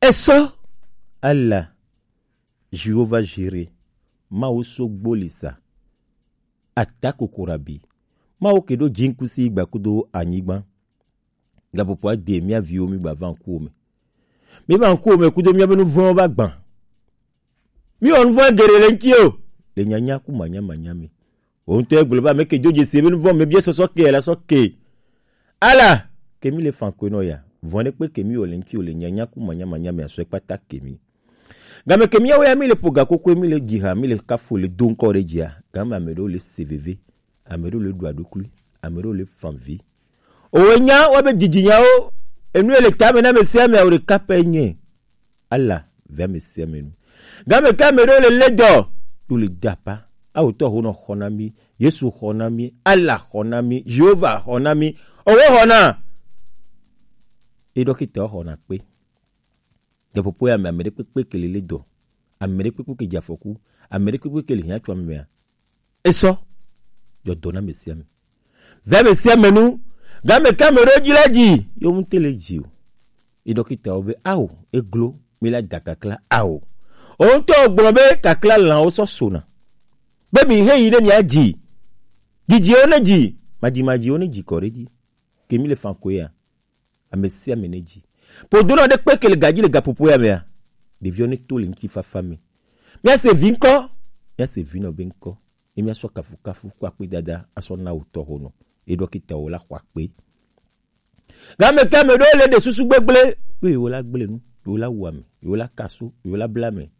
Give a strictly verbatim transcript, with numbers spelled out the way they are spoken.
Esɔ. Ala. Jehova Jire. Mawu so gbolisa. Ata kokorabi. Mawu ke ɖo jinkusi gba kudo anyigba. Gapopo ade mía viwo mi gba va ŋkuwo me. Mi va ŋkuwo me kudo mía be nuvɔ̃wo va gbã. Mi wɔ nuvɔ̃ geɖe le ŋuti o. Le nyanya ku manya manya me. Wo ŋutɔ egblɔ be ame ke do dzesi be nuvɔ̃ me bia sɔsɔ ke la sɔ ke. Ala ke mi le fan koe nɔ ya. Vɔ̃ ɖe kpe ke mi wɔ le ŋuti o le nyanya ku manya manya me asɔ kpata ke mi. Game ke míawo ya mi le ƒo gakokoe, mi le dzi ha, mi le kafo le do ŋkɔ ɖe dzia, game ame ɖewo le se veve, ame ɖewo le ɖu aɖukli, ame ɖewo le fan vi. Owe nya wa be dzidzinyawo, enu ye le tame na ame sia ame awo ɖeka pɛ nye. Ala ve ame sia ame nu. Game ke ame ɖewo le le dɔ, to le dapa. Awo tɔ ho nɔ xɔ na mi, Yesu xɔ na mi, Ala xɔ na mi, Jehova xɔ na mi, owe xɔ na. E dɔkita xɔ na kpe. Gaƒoƒo ya me, ame ɖe kpekpe ke le le dɔ, ame ɖe kpekpe ke dze afɔku, ame ɖe kpekpe ke le hiã tso ame mea, esɔ dzɔ dɔ na ame sia ame. Ve ame sia ame nu, game ke ame ɖewo dzi la dzi, yewo ŋute le dzi o. Ye dɔkitawo be, ao, eglo, mi la da kakla, ao. O ŋutɔ gblɔ be kakla lãwo sɔ sona. Be mi he yi ne mia dzi. Dzidziwo ne dzi, madzimadziwo ne dzi kɔ ɖe dzi. Ke mi le fan koe ya. Ame sia ame ne dzi. Ƒodonɔ ɖe kpe ke le gadzi le gaƒoƒo ya mea, ɖeviwo ne to le ŋutifafa me. Míase vi ŋkɔ, míase vinɔ be ŋkɔ. Ye míasɔ kafukafu kple akpedada asɔ na wò tɔxonɔ. Ye dɔkitawo la xɔ akpe. Game ke ame ɖewo le ɖe susu gbegblẽ be yewo la gblẽ nu, yewo la wu ame, yewo la kaso, yewo la bla ame.